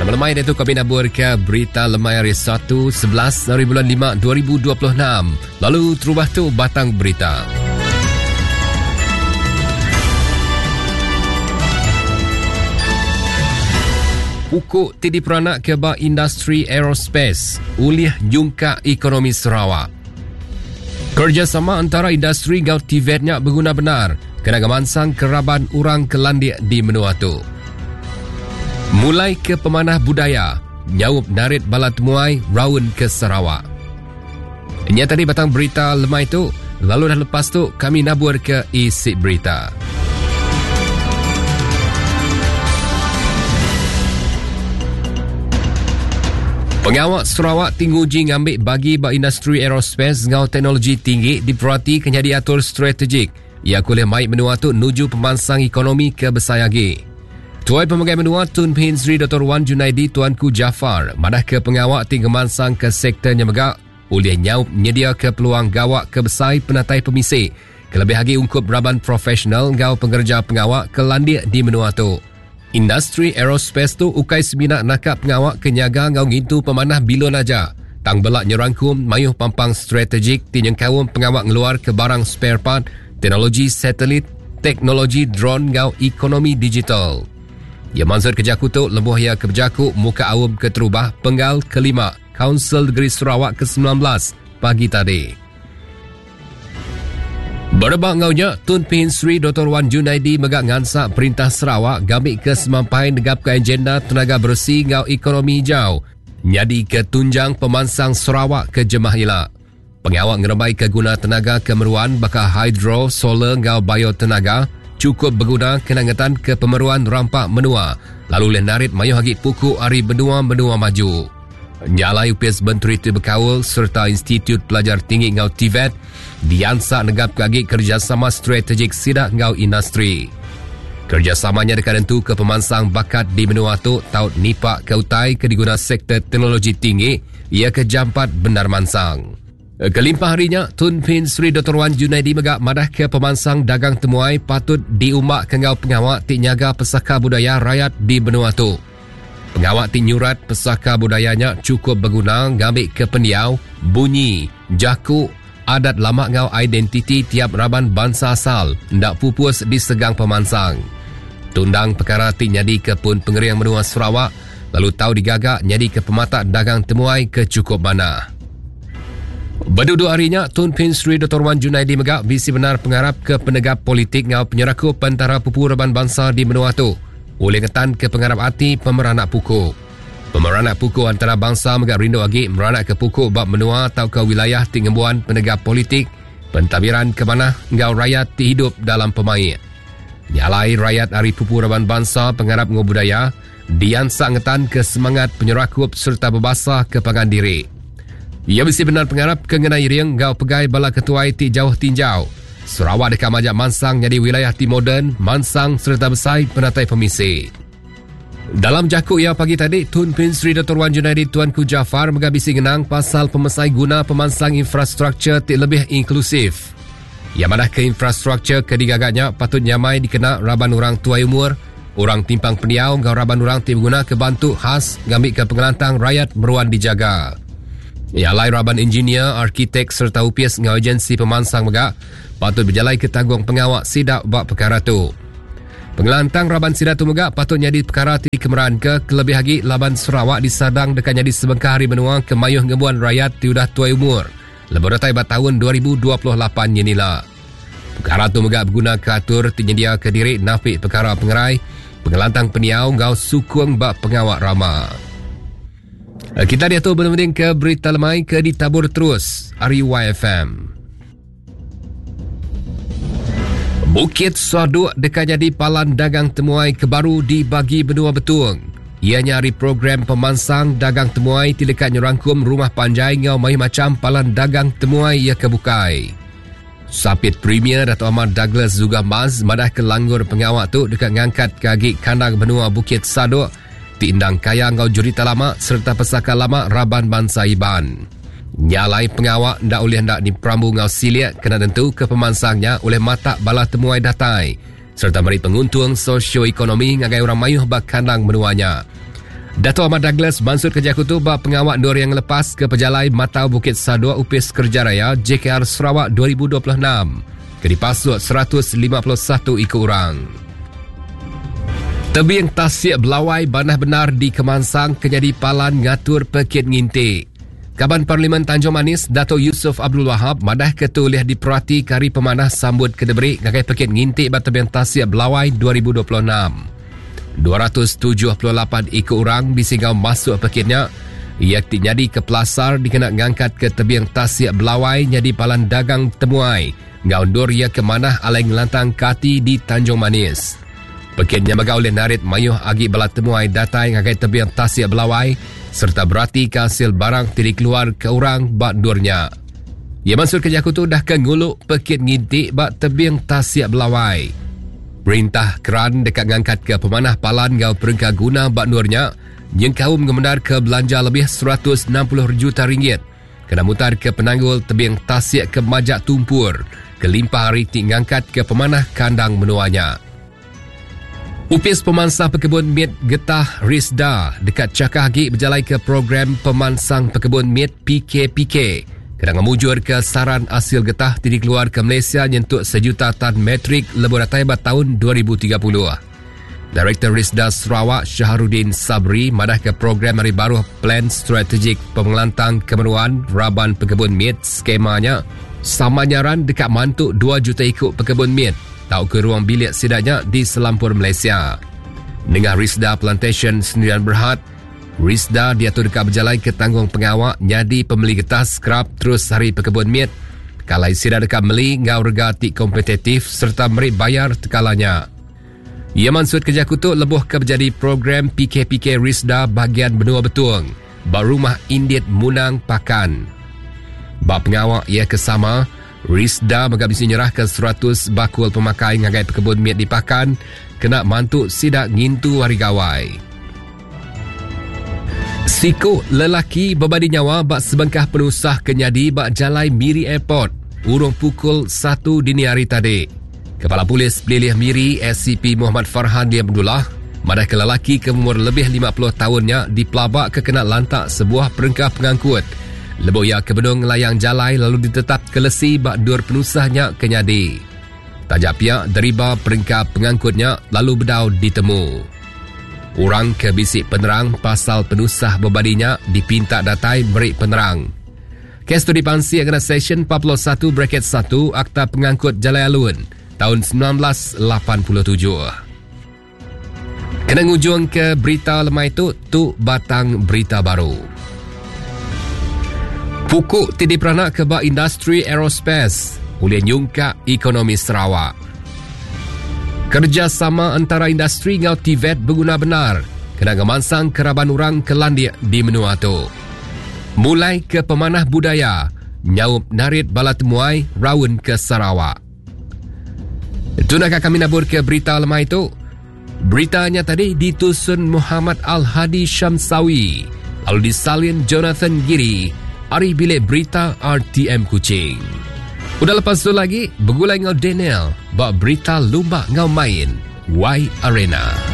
Selamat lemai diatu kami nabur ke berita lemai hari 1 11 hari bulan 5 2026. Lalu terubah tu batang berita. Pukuk ti diperanak ke ba industri aerospace ulih nyungkak ekonomi Sarawak. Kerjasama antara industri enggau TVET nya beguna bendar kena ngemansang keraban orang ke landik di menua tu. Mulai ke pemanah budaya, nyaup narit bala temuai raun ke Sarawak. Nya tadi batang berita lemai tu, lalu dah lepas tu kami nabur ke isi berita. Pengawa Sarawak ti nguji ngambi bagi ba industri aerospace enggau teknologi tinggi diperati ke nyadi atur strategik iya ke ulih mai menua tu nuju pemansang ekonomi ke besai agi. Tuai Pemegai Menua Tun Pehin Sri Dr. Wan Junaidi Tuanku Jaafar madahka pengawa ti ngemansangka sektor nya mega ulih nyaup nyediaka peluang gawa ke besai penatai pemisi kelebih agi ungkup raban profesional enggau pengereja pengawa ke landik di menua tu. Industri aerospace tu ukai semina naka pengawa ke nyaga enggau ngintu pemanah bilun aja, tang bela nyerangkum mayuh pampang strategik ti nyengkaum pengawa ngeluarka barang spare part, teknologi satelit, teknologi drone enggau ekonomi digital. Iya mansutka jaku tu lebuh iya ke bejaku muka aum keterubah penggal kelima Kaunsil Negeri Sarawak ke 19 pagi tadi. Berebak enggau nya, Tun Pehin Sri Dr. Wan Junaidi mega ngansak Perintah Sarawak ngambika semampai negapka agenda tenaga beresi enggau ekonomi hijau nyadika tunjang pemansang Sarawak ke jemah ila. Pengawa ngerembaika guna tenaga ke meruan baka hidro, solar enggau biotenaga chukup beguna kena ngetanka pemeruan rampa menua lalu ulih narit mayuh agi puku ari menua-menua maju. Nya alai Opis Menteri ti bekaul sereta Institut Pelajar Tinggi enggau TVET diansak negapka agi kerejasama strategik sida enggau industri. Kerejasama nya deka nentuka pemansang bakat di menua tu tau nipak ke utai ke diguna sektor teknologi tinggi iya ke jampat bendar mansang. Kelimpah ari nya, Tun Pehin Sri Doktor Wan Junaidi mega madahka pemansang dagang temuai patut diumbaka enggau pengawa ti nyaga pesaka budaya rayat di menua tu. Pengawa ti nyurat pesaka budaya nya chukup beguna ngambika pendiau, bunyi, jaku, adat lama enggau identiti tiap raban bansa asal enda pupus disegang pemansang. Tu endang pekara ti nyadika pun pengering menua Sarawak lalu tau digaga nyadika pematak dagang temuai ke chukup manah. Beduduk ari nya, Tun Pehin Sri Doktor Wan Junaidi mega bisi bendar pengarap ke penegap politik enggau penyerakup entara pupu raban bansa di menua tu. Ulih ngetanka pengarap ati pemeranak puku. Pemeranak puku antara bansa mega rindu agi meranakka puku ba menua tauka wilayah ti ngembuan penegap politik, pentadbiran ke manah enggau rayat ti idup dalam pemaik. Nya alai rayat ari pupu raban bansa pengarap enggau budaya diansak ngetanka semangat penyerakup sereta bebasa ke pangan diri. Iya bisi bendar pengarap ke ngena iring enggau pegai bala ketuai ti jauh tinjau. Sarawak deka majak mansang nyadi wilayah ti moden, mansang sereta besai penatai pemisi. Dalam jaku iya pagi tadi, Tun Pehin Sri Doktor Wan Junaidi Tuanku Jaafar mega bisi ngenang pasal pemesai guna pemansang infrastruktur ti lebih inklusif. Iya madahka infrastruktur ke digaga nya patut nyamai dikena raban orang tuai umur, orang timpang pendiau enggau raban orang ti begunaka bantu khas ngambika pengelantang rayat meruan dijaga. Nya alai raban injinia, arkitek sereta opis enggau agensi pemansang mega patut bejalaika tanggung pengawa sida ba pekara tu. Pengelantang raban sida tu mega patut nyadi pekara ti dikemeranka kelebih agi laban Sarawak disadang deka nyadi sebengkah ari menua ke mayuh ngembuan rayat ti udah tuai umur lebuh datai ba taun 2028 nyin ila. Pekara tu mega begunaka atur ti nyendiaka diri napi pekara pengerai, pengelantang pendiau enggau sukung ba pengawa rama. Eh, kita diatu benung ke berita lemai ke ditabur terus ari YFM. Bukit Saduk deka nyadi palan dagang temuai ke baru di bagi benua Betung. Iya nya ari program pemansang dagang temuai ti deka nyerangkum rumah panjai enggau mayuh macham palan dagang temuai iya ke bukai. Sapit Premier Datuk Amar Douglas Uggah Mas madahka langgur pengawa tu deka ngangkatka agi kandang benua Bukit Saduk ti endang kaya enggau jerita lama sereta pesaka lama raban bansa Iban. Nya alai pengawa enda ulih enda diperambu enggau silik kena nentuka pemansang nya ulih matak bala temuai datai sereta meri penguntung sosioekonomi ngagai orang mayuh ba kandang menua nya. Datuk Amar Douglas mansut ke jaku tu ba pengawa endur iya ngelepas ke pejalai Matau Bukit Sadok Opis Kereja Raya JKR Sarawak 2026 ke dipasuk 151 iku orang. Tebing Tasik Belawai banah bendar dikemansang ke nyadi palan ngatur pekit nginti. Kaban Parlimen Tanjung Manis Dato Yusuf Abdul Wahab madah ke tu ulih diperati ke hari pemanah sambut ke diberi ngagai pekit nginti ba Tebing Tasik Belawai 2026. 278 iku orang bisi enggau masuk pekit nya iya ti nyadi ke pelasar dikena ngangkatka tebing tasik Belawai nyadi palan dagang temuai enggau endur iya ke manah alai ngelantangka ati di Tanjung Manis. Pekit nya mega ulih narit mayuh agi bala temuai datai ngagai tebing tasik Belawai sereta beratika asil barang ti dikeluarka orang ba endur nya. Iya mansutka jaku tu udah ke ngulu pekit nginti ba tebing tasik Belawai. Perintah keran deka ngangkatka pemanah palan enggau perengka guna ba endur nya nyengkaum ngemendarka belanja lebih 160 juta ringgit kena mutarka penanggul tebing tasik ke majak tumpur kelimpah ari ti ngangkatka pemanah kandang menua nya. Opis Pemansang Pekebun Mit Getah Risda deka chakah agi bejalaika program Pemansang Pekebun Mit PKPK kena ngemujurka saran asil getah ti dikeluarka Malaysia nyentuk sejuta tan metrik lebuh datai ba taun 2030. Direktor Risda Sarawak Shaharuddin Sabri madahka program ari baruh Plan Strategik Pengelantang Kemeruan Raban Pekebun Mit skema nya sama nyaran deka mantu 2 juta iku pekebun mit tauka ruang bilik sida nya di selampur Malaysia. Nengah Risda Plantation Sendirian Berhad, Risda diatu deka bejalaika tanggung pengawa nyadi pemeli getah skrap terus ari pekebun mit kalai sida deka meli enggau rega ti kompetitif sereta meri bayar tekala nya. Iya mansutka jaku tu lebuh ke bejadi program PKPK Risda Bahagian Benua Betong ba Rumah Indit Munang Pakan. Ba pengawa iya ke sama, Risda mega bisi nyerahka 100 bakul pemakai ngagai pekebun mit di Pakan kena mantu sida ngintu Hari Gawai. Siku lelaki bebadi nyawa ba sebengkah penusah ke nyadi ba Jalai Miri Airport urung pukul 1 dini hari tadi. Kepala Polis Pelilih Miri SCP Muhammad Farhan Liam Abdullah madahka lelaki ke umur lebih 50 taun nya dipelabaka kena lantak sebuah perengka pengangkut lebuh iya ke benung ngelayang jalai lalu ditetapka lesi ba endur penusah nya ke nyadi. Taja pia deriba perengka pengangkut nya lalu bedau ditemu. Orang ke bisi penerang pasal penusah bebadi nya dipinta datai meri penerang. Kes tu dipansik ngena Seksyen 41 bracket 1 Akta Pengangkut Jalai Alun taun 1987. Kena ngujung ke berita lemai tu, tu batang berita baru. Pukuk ti diperanak ke ba industri aerospace ulih nyungkak ekonomi Sarawak. Kerjasama antara industri enggau TVET beguna bendar kena ngemansang ke raban orang ke landik di menua tu. Mulai ke pemanah budaya nyaup narit bala temuai raun ke Sarawak. Itu nak kami nabur ke berita lemai tu. Beritanya tadi ditusun Muhammad Al-Hadi Syamsawi lalu disalin Jonathan Giri ari bilik berita RTM Kuching. Udah lepas tu lagi, begulai ngau Daniel ba berita lumba ngau main Y Arena.